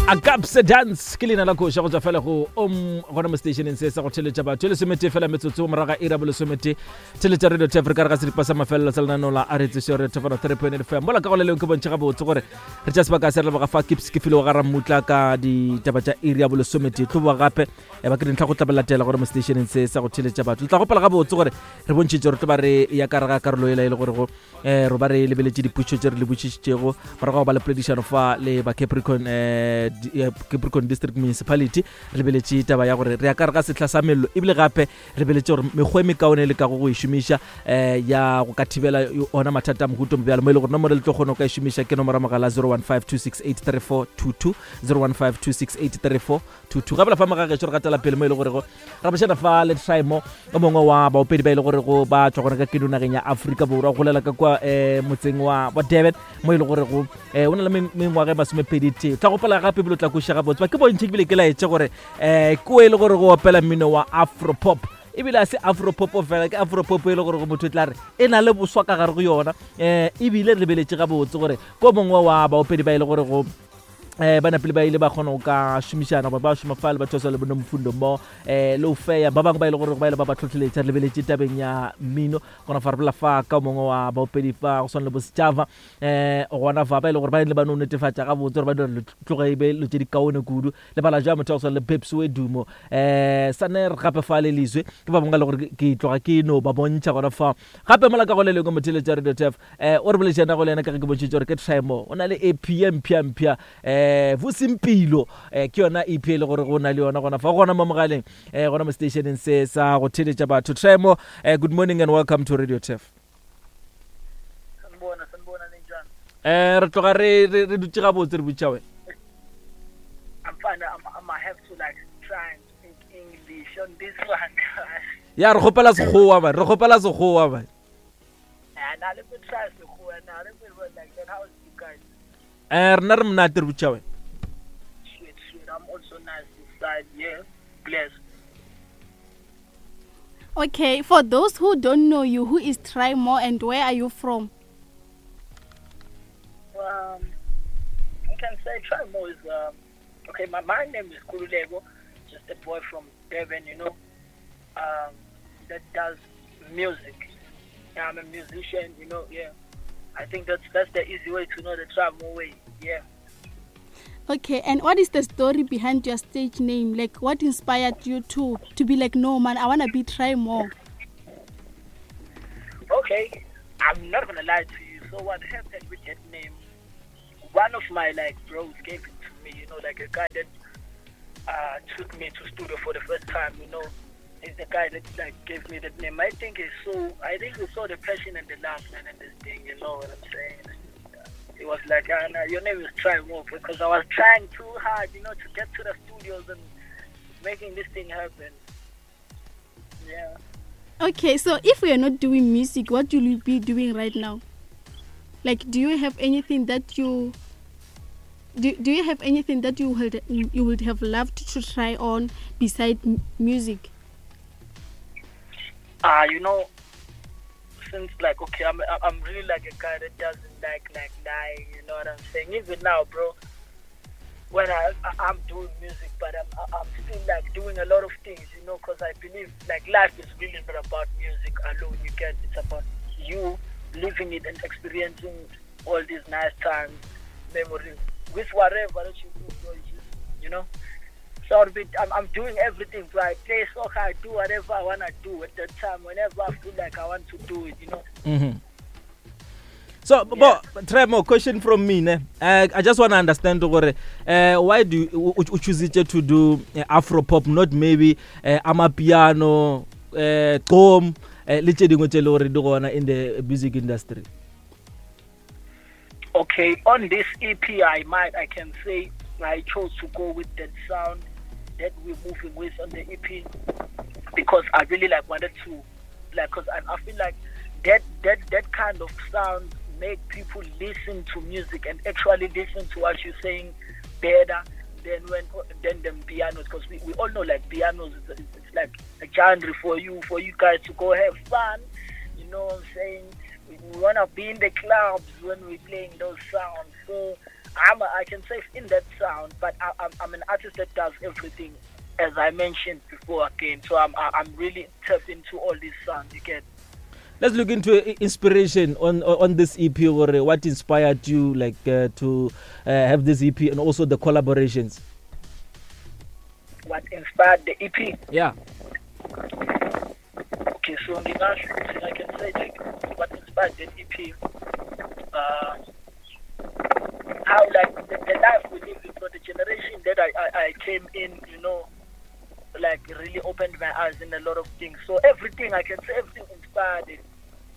Agapse Dance ke leina la koša go tswa fela go om gona mo stationeng se sa go theletša batho e lesometee fela metsotso moraga ira bolesometee theletša radio tef re ka re ga seripa sa mafelelo sa lenaneo la a re tseso re thefana 3.8 fm mola ka go le leng ke bontšhe gabotse gore re tša sebaka se re leboga fa ke ke file wa ga rammutla ka ditaba tša iri ya bolesometee tlo boa gape e ba ke dintlha go tla latela gore mo stationeng se sa go theletša batho le tla gopela gabotse gore re bontšhitše re tlo ba re ya ka re ga karolo ela e le gore go eh ro ba re lebeletše dipotšišo tše re le botšišitšego morago ga go ba le poledišano fa le ba capricorn eh, eh, capricorn district municipality re lebeletše taba ya gore re ya ka re ga sehla sa mello ebile gape re lebeletše gore mekgwa e mekaone e lekago go e šomiša eh, ya go ka thibela ona mathata a mohuto bjalo mo e le gore nomoro le tlo kgona go ka e šomiša ke nomoro ya mogala 015 268 3422 015 268 3422 gabela fa mogagešo re gatela pele mo e le gorego ra bošana fa le Trimo o mongwe wa baopedi ba e le gorego ba tšwa gona ka keno nageng ya Afrika Borwa golela ka kwa um motseng wa wa Durban mo e le gorego um o na le mengwaga e masomepedi tee tla gopola gape ebile o tla kweša gabotse ba ke bontšhe ebile ke laetše gore um ke o e le gore go opela mmino wa afropop ebile a se afropop fela ke afropop e le gore go motho e tla re e na le boswa ka gare go yona um ebile re lebeletše gabotse gore ko mongwe wa baopedi ba e le gore go eh ba napile ba ile ba kgona go ka šomišana goba ba šoma fa le batho ba swa le bonomfundo mo eh le ofeya ba bangwe ba ile gore ba ile ba ba tlhotlheletša re lebeletše tabeng ya mmino gona fa re bolela fa ka mongwe wa baopedi fa go swana le bosejava eh gona fa ba ile gore ba ile ba no netefatša gabotse gore ba dira tloge e be lo tše di kaone kudu le bala jwa motho wa go swana le Babes Wedumo eh saner gape fa le lizwe ke ba bangwe le gore ke tloga ke no ba bontšha gona fa gape mola ka go le lengwe motheletša radio tf eh o re boletšana go le yena ka ge ke bontšhitše gore ke Trimo o na le EP ye mpsha mpsha eh Vusimpilo eh ke yona EP e le gore go na le yona gona fa gona mo mogaleng eh gona mo stationeng se sa go theletša batho Trimo eh good morning and welcome to Radio Tef Sanibona, sanibona ninjani? Eh re tloga re re re dutše gabotse re botša wena I'm fine. I'm I have to like try and speak English on this one. Ya re kgopela sekgowa man re kgopela sekgowa man And I let me try Sekgowa now. Let me work like that. How is you guys? Eh rena re monate re botša wena Sweet, sweet. I'm also nice this side. Yeah. Bless. Okay, for those who don't know you, who is Trimo and where are you from? I can say Trimo is okay. My name is Nkululeko, just a boy from Durban, you know, that does music. Yeah, I'm a musician, you know. Yeah, I think that's the easy way to know the Trimo way. Yeah. Okay, and what is the story behind your stage name? Like, what inspired you to be like, no man, I want to be Trimo? Okay, I'm not going to lie to you. So what happened with that name? One of my bros gave it to me, like a guy that took me to studio for the first time, you know. He's the guy that gave me that name. I think he saw the passion and the love, man, and this thing, you know what I'm saying? He was like, nah, your name is Trimo, because I was trying too hard, to get to the studios and making this thing happen. Yeah. Okay, so if we are not doing music, what will you be doing right now? Like, do you have anything that you do, do you have anything that you would, you would have loved to try on beside music? Since like, okay, I'm really like a guy that doesn't like lying, you know what I'm saying? Even now, bro, when I'm doing music, but I'm still doing a lot of things, because I believe life is really not about music alone. You get it's about you living it and experiencing all these nice times, memories with whatever that you do, bro, you know. So I'm doing everything, bro. I play soccer, I do whatever I want to do at that time, whenever I feel like I want to do it, you know. So, but, Trimo, question from me, ne? I just want to understand, gore, why do you choose it to do Afro pop, not maybe Amapiano, Gqom, le tse dingwe tse le gore di gona in the music industry? Okay, on this EP, I can say I chose to go with that sound that we're moving with on the EP because I really like wanted to, like, because I feel like that kind of sound make people listen to music and actually listen to what you're saying better than them pianos, because we all know pianos it's like a genre for you guys to go have fun, you know what I'm saying? We want to be in the clubs when we're playing those sounds. So I'm a, I can say in that sound, but I, I'm, I'm an artist that does everything, as I mentioned before again. So I'm I- I'm really tapped into all these sounds. You get. Let's look into inspiration on on this EP. Or what inspired you, like to have this EP and also the collaborations? What inspired the EP? Yeah. Okay, so ngingasho ukuthi I can say like what inspired that EP. How like the life we live in, for the generation that I came in, you know, like really opened my eyes in a lot of things. So everything I can say, everything inspired it.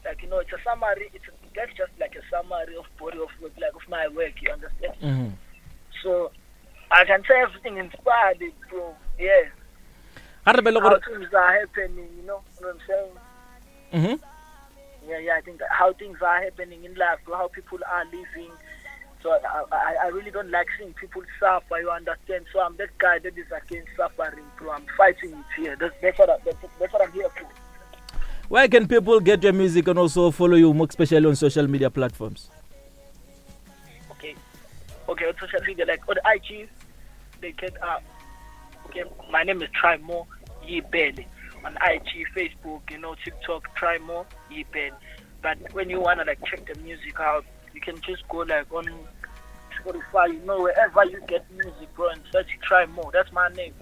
Like, you know, it's a summary. It's a, that's just like a summary of body of work, like of my work. You understand? So I can say everything inspired it, bro. Yeah. Ga re bele How gore things are happening, you know what I'm saying? Yeah, yeah. I think how things are happening in life, how people are living. So I really don't like seeing people suffer. You understand? So I'm that guy that is against suffering, bro. I'm fighting it here. That's what I'm here for. Where can people get your music and also follow you, more especially on social media platforms? Okay, on social media, like on IG, they can. Okay, my name is Trymore Yibele on IG, Facebook, you know, TikTok, Trymore Yibele. But when you wanna like check the music out, you can just go like on Spotify, you know, wherever you get music, bro, and search Trymore. That's my name.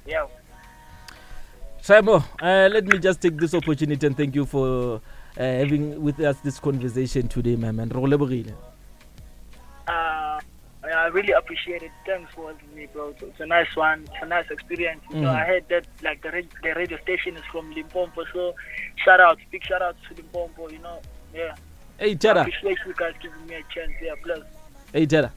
Yeah. Trymore, let me just take this opportunity and thank you for having with us this conversation today, my man. Re go lebogile. I really appreciate it. Thanks for having me, bro. It's a nice one. It's a nice experience. You know, I heard that like the radio station is from Limpopo, so shout out, big shout out to Limpopo. You know, yeah. Hey, Tera. I appreciate you guys giving me a chance. Yeah, bless. Hey, Tera.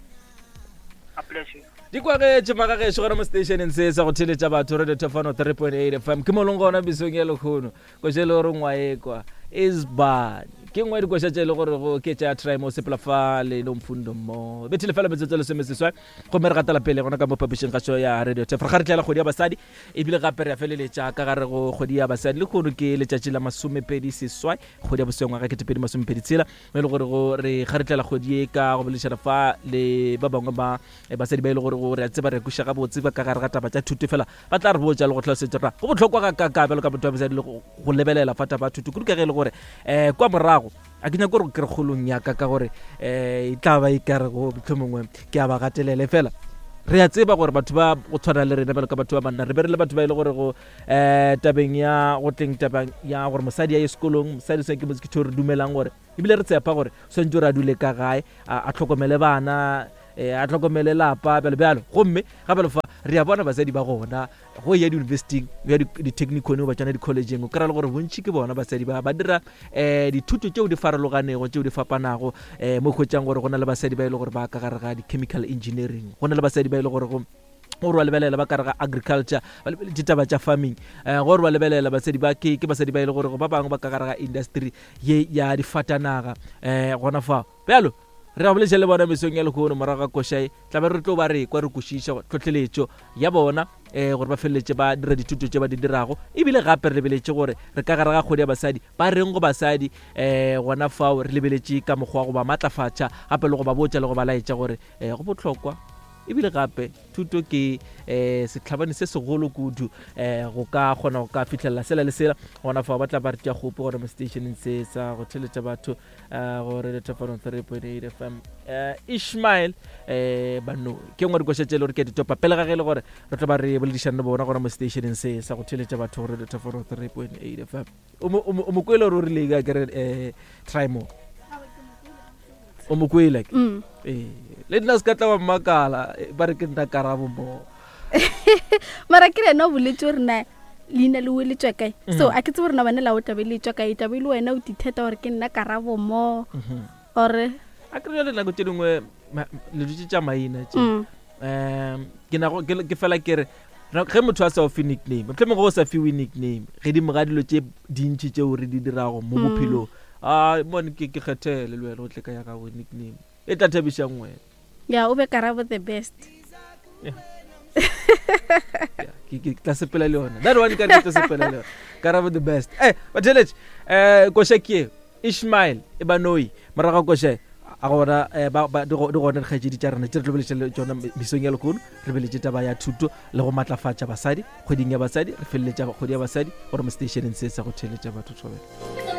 I bless you. Di kwagetše magagešo gona mo stationeng se sa go theletša batho Radio Thefano 3.8 FM. Ke molong gona besong ya lekgono koša e le gore ngwaekwa isban ke nngwe ya dikoša tše e le gore go ke tša Trymore sepela fa le Nomfundo mo bethile fela metsotso 16, gomme re gatela pele gona ka mo phapošing gašo ya Radio Thefano. Ga re tlela kgwedi ya basadi, ebile gape re a feleletša ka gare go kgwedi ya basadi. Lekgono ke letšatši la 28 kgwedi ya boswengwaga ngwaga 2026, mo e le gore go re ga re tlela kgwedi e ka go boledišana fa le ba bangwe ba basadi ba e le gore go re a tseba re kweša gabotse ba ka gare ga taba tša thuto, fela ba tla re botša le go tlhalosetša gore go bohlokwa ga ka bjalo ka motho wa mosadi le go lebelela fa taba ya thuto kudu, ka ge e le gore kwa morago a ke nyako gore ke re kgolong ya ka, ka gore e tla ba e ka re go mohlomongwe ke a ba gatelele. Fela re a tseba gore batho ba go tshwana le rena bjalo ka batho ba banna re be re le batho ba e le gore go tabeng ya go tleng tabeng ya gore mosadi a ye sekolong, mosadi o ke motse ke tho re dumelang gore ebile re tshepa gore swantse gore a dule ka gae, a tlhokomele bana, a tlhokomele lapa bjalo bjalo. Gomme gape fa re a bona basadi ba gona go ya di-universityng, ya di-technicon goba tsona di-collegeng, o kry-a le gore bontši ke bona basadi ba ba dira dithuto tšeo di farologanego, tšeo di fapanago, mo hwetšang gore go na le basadi ba e le gore ba ka gare ga di-chemical engineering, go na le basadi ba e le gore go gore ba lebelela ba kare ga agriculture, ba lebeletše taba tša farming, gore ba lebelela basadi ba ke basadi ba e le gore ba bangwe ba ka gare ga industry ye ya difatanaga, gona fao. Bjalo re a boletša le bona mesong ya lehono morago ga košae, tla be re tlo ba re kwa re kwešiša tlhohleletšo ya bona, gore ba feleletše ba dira dithuto tše ba di dirago. Ebile gape re lebeletše gore re ka gare ga kgwedi ya basadi, ba reng go basadi, gona fao re lebeletše ka mokgwa wa go ba matlafatša gape le go ba botša le go ba laetša gore go bohlokwa. Ebile gape thuto ke sehlabani se segolo kudu, go ka kgona go ka fihlelela sela le sela. Gona fao ba tla ba re tša kgopo gona mo stationeng se sa go theletša batho, go Radio Thefano 3.8 FM. Ishmael Bano ke nngwe dikoša tše e le gore ke ditopa pele ga ge e le gore re tlo ba re boledišana le bona gona mo stationeng se sa go theletša batho go Radio Thefano 3.8 FM. O mo kwele gore o rile ka kere Trymore? O mo kwele ke? Le nna se ka tla wa mmakala, ba re ke nna Karabo mo. Mara ke rena o boletse gore na leina le o le tswa kae. So a ke tsebe gore na bana la o tlabe le tswa kae, tlabe le wena o ditheta gore ke nna Karabo mo. Ore a ke re nako tše dingwe le dutše tša maina tše. Ke nago ke fela ke re ge motho a sa o fe nickname, mohlomongwe go sa fiwe nickname gedimo ga dilo tše dintši tšeo re di dirago mo bophelong, a mone ke kgethele le wena o tle ka ya gago nickname e tla thabišang wena. Ya, o be Karabo the best. Yeah. Ke tla sepela le yona that one, ka re ke tla sepela le yona Karabo the best. Batheletše, koša ke Ishmael e banoi morago koša. A gona eh, ba, ba, di go- di gona dikgaetšedi tša rena tše re tlo beletša le tšona mesong ya lekono re beletše taba ya thuto le go matlafatša basadi kgweding ya basadi re feleletša kgwedi ya basadi gore mo stationeng se sa go theeletša batho thobela.